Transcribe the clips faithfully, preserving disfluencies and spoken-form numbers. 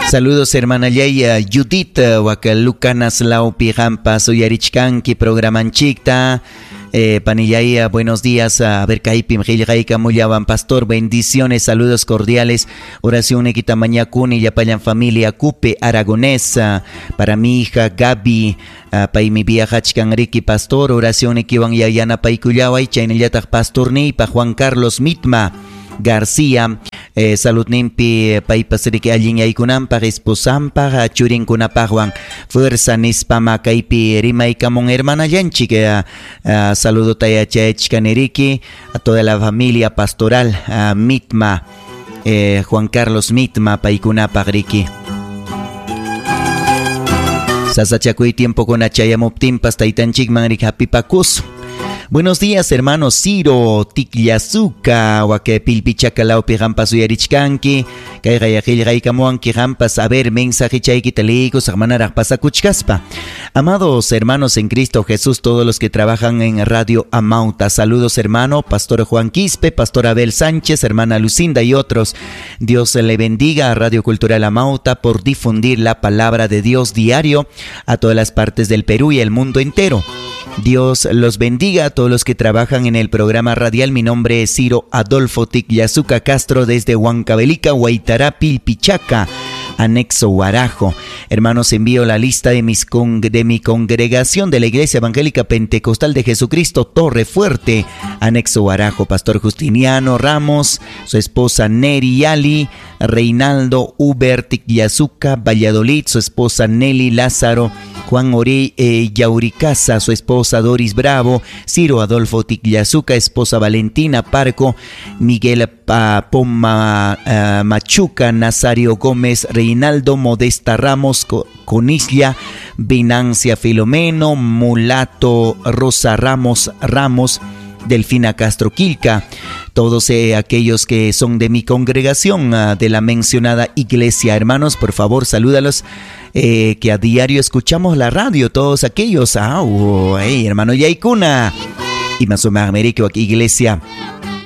Saludos hermana Yaya Judith Wakalucanas Laupi Jampas uyarichkanki programanchikta. Eh, panillaya, buenos días. A ver, kaypim qillqaykamullawan pastor, bendiciones, saludos cordiales. Oración nikita mañakuni llapallan familia Cupe Aragonesa. Para mi hija Gaby, paymi viajachkan riki pastor, oración nikiwan yanapaykullaway, chaynallataq pastorniypa Juan Carlos Mitma García, eh, saludninpi paypas riki allin yaykunanpaq esposanpaq churinkunapaqwan fuerza nispama kaypi rimaykamun hermanallanchik, eh, eh, saludota yachayachkani riki a toda la familia pastoral uh, Mitma, eh, Juan Carlos Mitma paykunapaq riki. Sasachakuy tiempokuna chayamuptinpas taytanchikman riki hapipakusun. Buenos días, hermano Ciro Tikllazuka, wake pilpichaka laupi hampas uyarichkanki, kayqa qillqaykamuwanki hampas, a ver, mensaje chaykita liykusaq manaraq pasakuchkaspa. Amados hermanos en Cristo Jesús, todos los que trabajan en Radio Amauta, saludos hermano, Pastor Juan Quispe, Pastor Abel Sánchez, hermana Lucinda y otros. Dios le bendiga a Radio Cultural Amauta por difundir la palabra de Dios diario a todas las partes del Perú y el mundo entero. Dios los bendiga a todos los que trabajan en el programa radial. Mi nombre es Ciro Adolfo Tikllazuka Castro desde Huancavelica, Huaytará, Pilpichaca, anexo Huarajo. Hermanos, envío la lista de, mis con, de mi congregación de la Iglesia Evangélica Pentecostal de Jesucristo, Torre Fuerte, anexo Huarajo. Pastor Justiniano Ramos, su esposa Neri Yali, Reinaldo Uber Tikllazuka Valladolid, su esposa Nelly Lázaro, Juan Ori eh, Yauricasa, su esposa Doris Bravo, Ciro Adolfo Tikllazuka, esposa Valentina Parco, Miguel pa, Poma uh, Machuca, Nazario Gómez, Reinaldo Modesta Ramos, Conislia, Venancia Filomeno, Mulato Rosa Ramos Ramos, Delfina Castro Quilca, todos eh, aquellos que son de mi congregación, uh, de la mencionada iglesia. Hermanos, por favor, salúdalos, eh, que a diario escuchamos la radio, todos aquellos. Ah, oh, hey, hermano Yaikuna. Y más o menos, América, Iglesia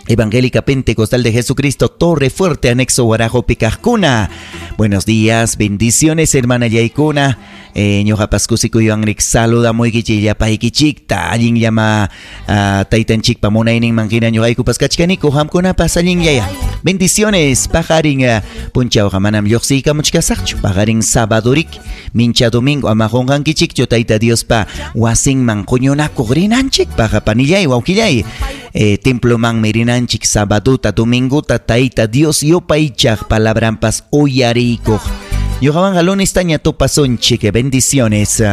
Evangélica Pentecostal de Jesucristo, Torre Fuerte, anexo Huarajo, Picajcuna. Buenos días, bendiciones, hermana Yaikuna. Eh, ñuqapas kusikuywanrik saludamuykichik llapaykichikta, allin llama uh, taytanchikpa munayninman hina ñuqaykupas kachkaniku, qamkunapas allinllaya. Bendiciones, paqarin uh, punchawqa manam lluqsiykamuchkasaqchu, paqarin sabadurik, mincha domingo ama qunqankichikchu tayta Diospa wasinman quñunakuq rinanchikpaq, panillay, wawqillay. Eh, templomanmi rinanchik sabaduta, dominguta, tayta Dios yupaychaq palabranpas uyariykuq. Ñuqawanqa lunestaña tupasunchik, bendiciones.